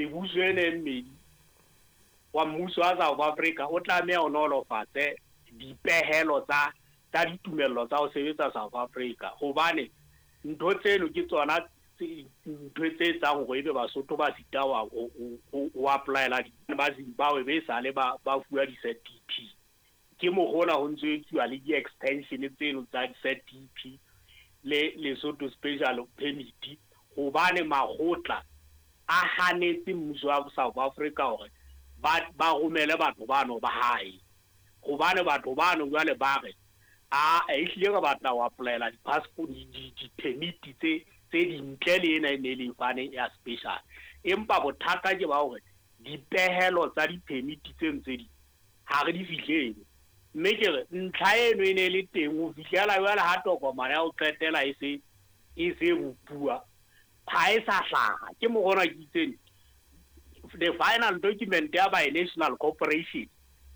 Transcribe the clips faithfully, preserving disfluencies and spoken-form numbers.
Mebuso ena e mmedi wa mmuso wa South Africa o tlameha o nolofatse dipehelo tsa tsa ditumello tsa ho sebetsa South Africa, hobane ntho tseno ke tsona ntho tse etsang hore ebe Basotho ba sita ho ho apply-ela ba Zimbabwe be sale ba ba fuwa di-Z D P. Ke mokgona ho ntso etsuwa le di-extension tseno tsa di-Z D P le Lesotho Special Permit, hobane makgotla a hanetse mmuso wa South Africa hore ba ba romele batho bano ba hae, hobane batho bano jwale ba re a ehlile re batla ho apply-ela di-passport di-permit tse tse dintle le ena e ne le fane ya special. Empa bothata ke ba hore dipehelo tsa di-permit tseno tse ding ha re di fihlele, mme ke re ntlha eno e ne le teng ho fihlela jwale ha tokomane ya ho qetela e se e se bopuwa ha e sa hlaha. Ke mokgona ke itseng the final document ya Binational Corporation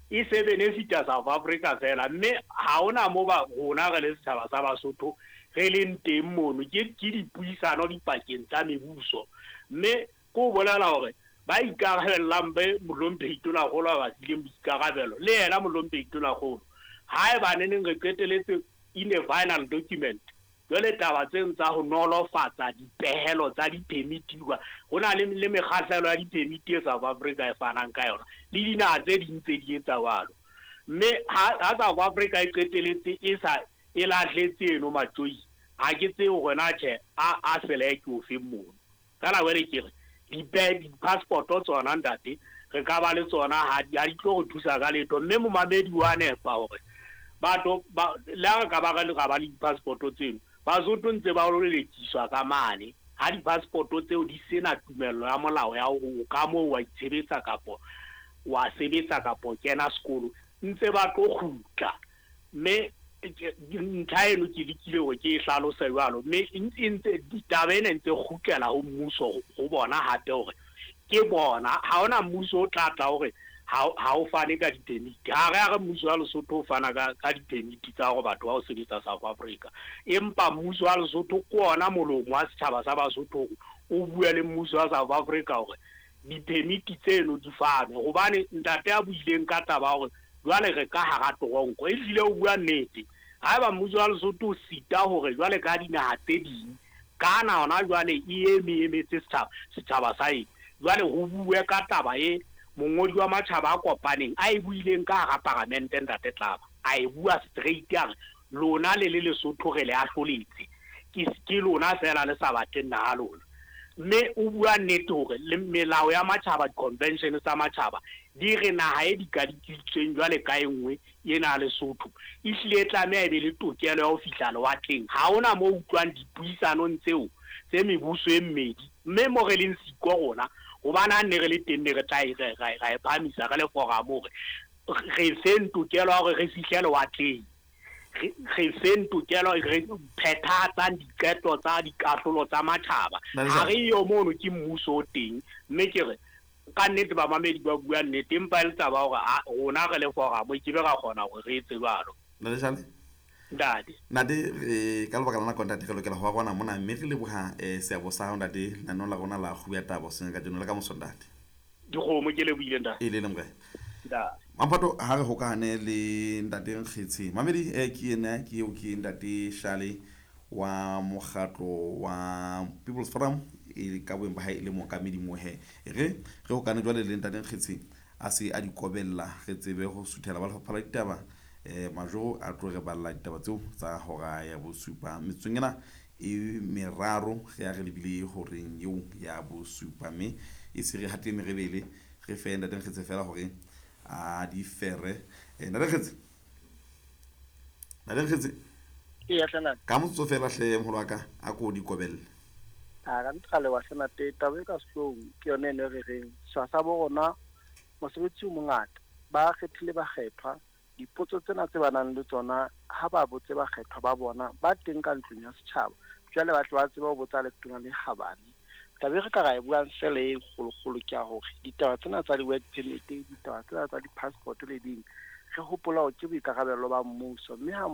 e se benefita South Africa fela, mme ha hona mo ba rona re le setjhaba sa Basotho re leng teng mono. Ke ke dipuisano dipakeng tsa mebuso, mme ke ho bolela hore ba ikarabellang be Mohlomphehi Tonakgolo a ba fileng boikarabelo le yena Mohlomphehi Tonakgolo haeba neneng re qeteletse in a final document. Jwale taba tseno tsa ho nolofatsa dipehelo tsa di-permit, ho na le le mekgahlelo ya di-permit e South Africa e fanang ka yona le dinaha tse ding tse di etsa jwalo, mme ha South Africa e qeteletse e sa e lahletse eno matjoi, ha ke tsebe hore na tjhe a a sele ke ofeng mono. Feela jwale ke re di-passport tsona ntate re ka ba le tsona ha di ha di tlo re thusa ka letho, mme momamedi wa nepa hore batho ba le ha re ka ba re ba le di-passport tseno, Basotho ntse ba lelekiswa ka mane ha di-passport tseo di sena tumello ya molao ya hore o ka moo wa itshebetsa kapo wa sebetsa kapo kena sekolo, ntse ba tlo kgutla. Mme ntlha eno ke lekile hore ke e hlalose jwalo, mme e ntse ditaba ena ntse kgutlela ho mmuso ho bona hape hore ke bona ha hona mmuso o tla tla hore ha o fane ka di-permit. Ha re a re mmuso wa Lesotho o fana ka ka di-permit tsa hore batho ba ho sebetsa South Africa, empa mmuso wa Lesotho ke ona molomo wa setjhaba sa Basotho o bua le mmuso wa South Africa hore di-permit tseno di fanwe. Hobane ntate a buileng ka taba hore jwale re ka hara toronko, ehlile o bua nnete. Haeba mmuso wa Lesotho o sita hore jwale ka dinaha tse ding kana hona jwale e eme emetse setjhaba setjhaba sa eng, jwale ho bue ka taba e mongodi wa matjhaba a kopaneng a e buileng ka hara paramente ntate Tlaba, a e bua straight a re lona le le Lesotho re le ahloletse, ke ke lona fela le sa batleng naha lona. Mme o bua nnete hore le melao ya matjhaba, di-convention tsa matjhaba di re naha e dikadikitsweng jwale ka e nngwe ena Lesotho ehlile e tlameha e be le tokelo ya ho fihla lewatleng. Ha hona mo utlwang dipuisanong tseo tse mebuso e mmedi, mme mo re leng siko rona hobane ha ne re le teng ne re tla e ra e phahamisa re le forum hore re feng tokelo ya hore re fihle lewatleng, re feng tokelo re phethahatsang diqeto tsa dikahlolo tsa matjhaba. Ha re yo mono ke mmuso o teng, mme ke re ka nnete bamamedi ba bua nnete, empa e le taba hore rona re le forum ke be ra kgona hore re etse jwalo. Ntate Ntate Ntate re ka lebaka la nako ntate re lokela ho arwana mona, mme re leboha seabo sa hao ntate lenaneo la rona la Kgubu ya Taba hoseng kajeno le ka moso ntate. Dikgomo ke lebohile ntate. E le le morena. Ntate. Mamphato ha re hokahane le ntate Nkgetshe. Mamedi eh ke yena ke eo ke ntate Shale wa mokgatlo wa People's Forum e ka boeng ba hae le mookamedi mohe. Re re hokane jwale le ntate Nkgetshe a se a di kobella re tsebe ho suthela ba lefapha la ditaba. Eh Majoro a tlo re balla ditaba tseo tsa hora ya bosupa metsotsong ena e meraro re ya re lebile horeng eo ya bosupa, mme e se re hate merebele re fe ntate Nkgetshe fela hore a di fere. Eh ntate Nkgetshe, ntate Nkgetshe e ya hlana ka motsotso fela hle moholo wa ka a ko di kobelle. A ka ntle le wa hlana te taba e ka sehloohong ke yone eno re reng setjhaba sa bo rona mosebetsi o mongata ba kgethile bakgethwa. Dipotso tsena tse ba nang le tsona ha ba botse bakgethwa ba bona ba teng ka ntlong ya setjhaba, jwale ba tle ba tsebe ho botsa letona le kgabane. Taba e re ka ra e buang fela e kgolokgolo ke ya hore ditaba tsena tsa di-work permit, ditaba tsena tsa di-passport le ding, re hopola hore ke boikarabelo ba mmuso, mme ha